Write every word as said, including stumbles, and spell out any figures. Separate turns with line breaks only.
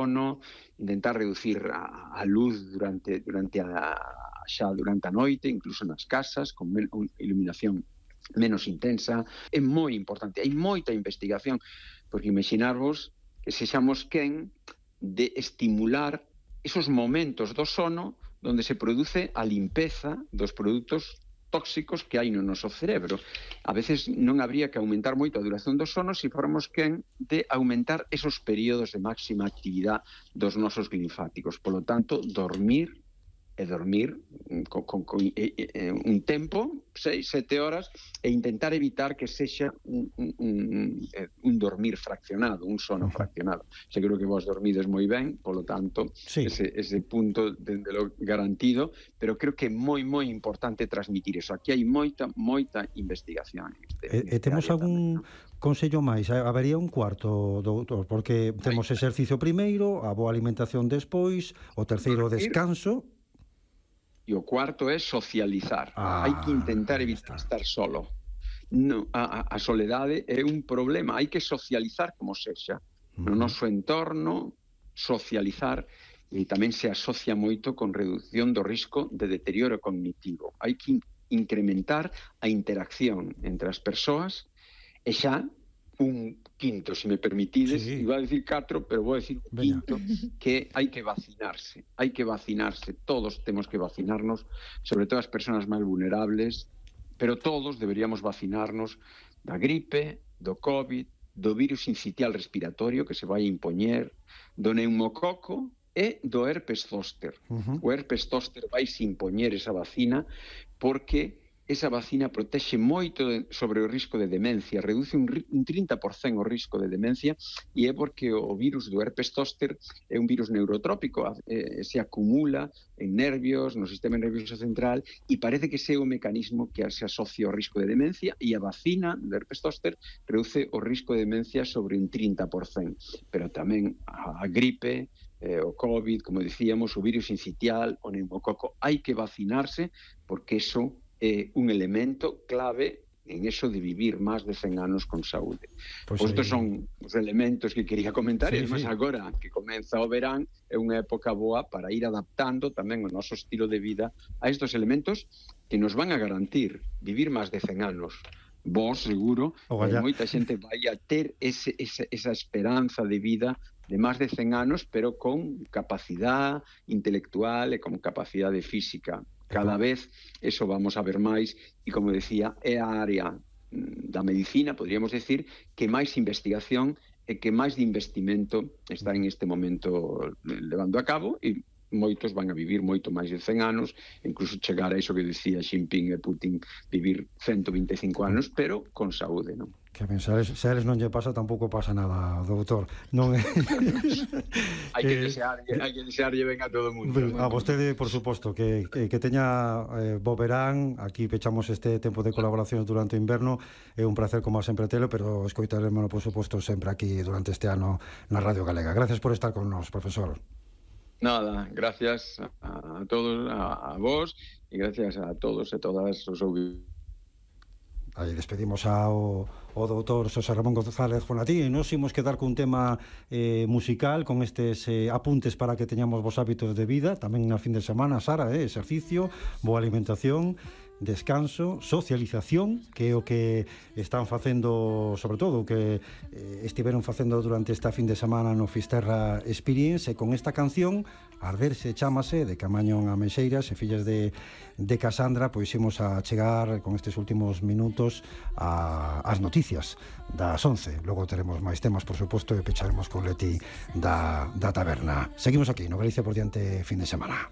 sono, intentar reducir a, a luz durante, durante a, xa durante a noite, incluso nas casas, con men, un, iluminación menos intensa. É moi importante, hai moita investigación, porque imaginarvos que sexamos quen de estimular esos momentos do sono onde se produce a limpeza dos produtos tóxicos que hai no noso cerebro. A veces non habría que aumentar moito a duración do sono se formos quen de aumentar esos períodos de máxima actividade dos nosos linfáticos. Polo tanto, dormir e dormir con, con, con e, e, un tempo, seis, sete horas, e intentar evitar que sexa un, un, un, un dormir fraccionado, un sono fraccionado. Se creo que vos dormides moi ben, polo tanto, sí. ese, ese punto de, de lo garantido, pero creo que é moi, moi importante transmitir eso. Aquí hai moita, moita investigación.
E, e temos algún consello máis? Habería un cuarto, doutor, porque temos exercicio primeiro, a boa alimentación despois, o terceiro descanso.
E o cuarto é socializar. Ah, hai que intentar evitar estar solo. No, a, a soledade é un problema. Hai que socializar como sexa. No noso entorno, socializar, e tamén se asocia moito con reducción do risco de deterioro cognitivo. Hai que incrementar a interacción entre as persoas e xa un quinto, se me permitides, sí. Iba a decir catro, pero vou a decir un quinto, que hai que vacinarse, hai que vacinarse, todos temos que vacinarnos, sobre todo as persoas máis vulnerables, pero todos deberíamos vacinarnos da gripe, do COVID, do virus sincitial respiratorio que se vai impoñer, do neumococo e do herpes zóster. Uh-huh. O herpes zóster vai se impoñer esa vacina porque esa vacina protexe moito de, sobre o risco de demencia, reduce un, un trinta por cento o risco de demencia, e é porque o virus do herpes zóster é un virus neurotrópico, eh, se acumula en nervios, no sistema nervioso central, e parece que ese é o mecanismo que se asocia ao risco de demencia, e a vacina do herpes zóster reduce o risco de demencia sobre un trinta por cento. Pero tamén a, a gripe, eh, o COVID, como dicíamos, o virus sincitial, o neumococo, hai que vacinarse porque eso é un elemento clave en eso de vivir máis de cen anos con saúde. Pues estos son os elementos que quería comentar, sí, e además sí. Agora que comeza o verán é unha época boa para ir adaptando tamén o noso estilo de vida a estos elementos que nos van a garantir vivir máis de cen anos. Vos, seguro, eh, moita xente vai a ter ese, ese, esa esperanza de vida de máis de cen anos, pero con capacidade intelectual e con capacidade física. Cada vez eso vamos a ver máis, e como decía, é a área da medicina, podríamos decir, que máis investigación e que máis de investimento está en este momento levando a cabo, e moitos van a vivir moito máis de cen anos, incluso chegar a iso que decía Xi Jinping e Putin, vivir ciento vinte e cinco anos, pero con saúde, non?
Que ben, se a eles non lle pasa, tampouco pasa nada, doutor. Non é...
hai que desearlle, hai que desearlle ben a todo o mundo.
A vostede, por suposto, que, que, que teña eh, bo verán. Aquí pechamos este tempo de colaboracións durante o inverno. É un placer, como sempre, telo, pero escoitaremos, por suposto, sempre aquí durante este ano na Radio Galega. Gracias por estar con nos, profesor.
Nada, gracias a todos, a, a vos, e gracias a todos e todas os ouvintes.
Aí despedimos ao, ao doutor Xosé Ramón González Fonatí, e nos imos quedar cun tema eh, musical, con estes eh, apuntes para que teñamos vos hábitos de vida, tamén na fin de semana, Sara, eh, exercicio, boa alimentación, descanso, socialización, que é o que están facendo, sobre todo o que eh, estiveron facendo durante esta fin de semana no Fisterra Experience, e con esta canción Arderse chamase, de Camaño a Meixeiras e fillas de, de Casandra, pois imos a chegar con estes últimos minutos a, as noticias das once. Logo teremos máis temas, por suposto, e pecharemos con Leti da, da taberna. Seguimos aquí no Galicia por diante fin de semana.